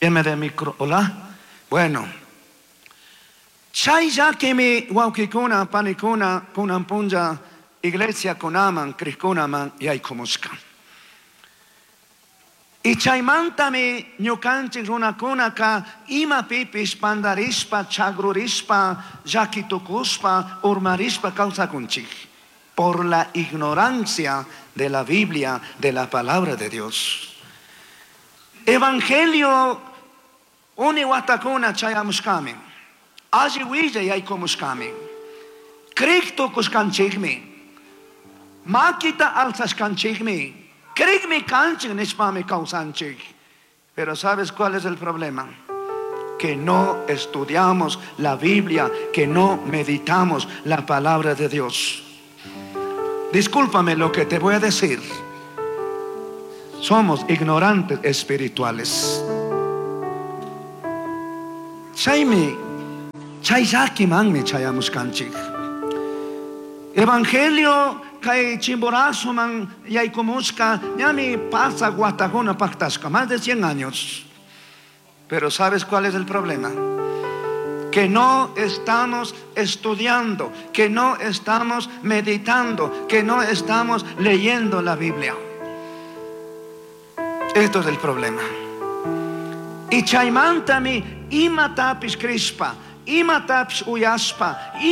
De micro. Hola. Bueno. Chay llakimi wawkikuna panikuna kunan punlla iglesia kunaman crikkunaman yaykumushka. Y chaymantami ñukanchik runakunaka imapipish pandarishpa, chagrurishpa, llakitukushpa, urmarishpa kawsakunchik. Por la ignorancia de la Biblia, de la palabra de Dios. Evangelio uni watakuna chayamushkami. Alli willay yaykumushkami. Crik tukushkanchikmi. Makita alzashkanchikmi. Crikmi kanchik nishpami kawsanchik. Pero ¿sabes cuál es el problema? Que no estudiamos la Biblia, que no meditamos la palabra de Dios. Discúlpame lo que te voy a decir. Somos ignorantes espirituales. Chaymi, chay llakimanmi chayamushkanchik. Evangelio kay Chimborazoman yaykumushka ñami pasa watakuna paktashka, más de 100 años. Pero ¿sabes cuál es el problema? Que no estamos estudiando, que no estamos meditando, que no estamos leyendo la Biblia. Esto es el problema. Y chaymantami imatapish crishpa, imatapish uyashpa.